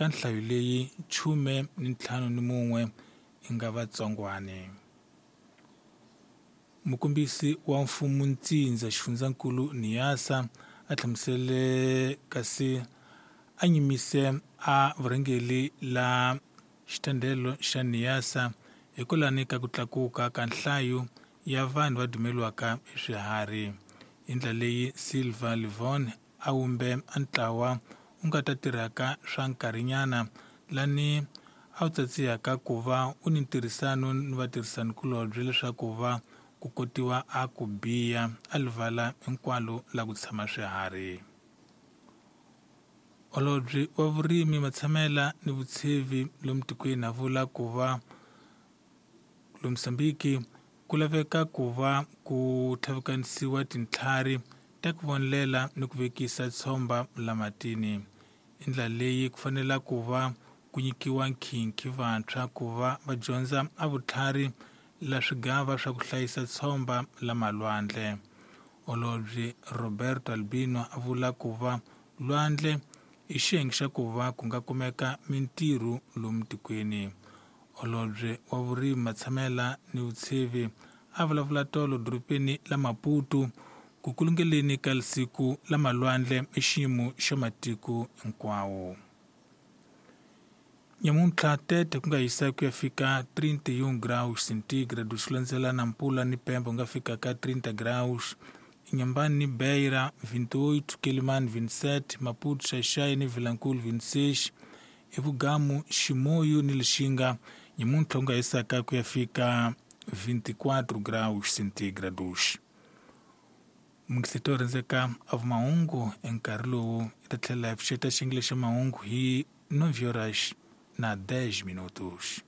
Ka nhlayo leyi 51 i nga vatsongwane. Mukombisi wa mfumo ntsindza xifundzankulu Niasa a hlamusele kasi a nyimise a vurhangeri la xitandelo xa Niasa hikwalani ka ku tlakuka ka nhlayo ya vanhu va dumeliwaka hi swiharhi. Hi ndlela leyi Silva Livon a wumbe a ntlawa u nga ta tirhaka swa nkarhinyana lani a wu tsatsihaka ku va u ni ntirhisano ni vatirhisanikulobye leswaku va ku kotiwa a ku biya a livala hinkwalo la ku tshama swiharhi. Holobye wa vurimi matshamela ni vutshevi lomu tikweni a vula ku va lomu Mozambique ku laveka ku va ku tlhavikanisiwa tintlhari ta ku vonelela ni ku vekisa tshomba la matini. Hi ndlela leyi ku fanela ku va ku nyikiwa nkhinkhi vantshwa ku va va dyondza a vutlhari la swigava swa ku hlayisa tshomba la malwandle. Holobye Roberto Albino a vula ku va lwandle i xiyenge xa ku va ku nga kumeka mintirho lomu tikweni. Holobye wa vurimi matshamela ni vutshevi a vulavula tolo dorobeni la Maputo ku kulungeleni ka siku la malwandle i xiyimo xa matiko hinkwawo. Nyamuntlha tete ku nga hisa ku ya fika 31 graus centigrade swi landzela na mpula ni pembe ku nga fika ka 30 graus. Inhambane ni Beira 28, Quelimane 27, Maputo, Xai-Xai ni Vilankulo 26, eVugamu, Chimoio ni Lixinga nyamuntlha ku nga hisaka ku ya fika 24 graus centigrados. Munghiseti wo rhandzeka a vumahungu enkarhi lowu i ta tlhela hi pfuxeta xiyenge xa mahungu hi 9 horas na 10 minutos.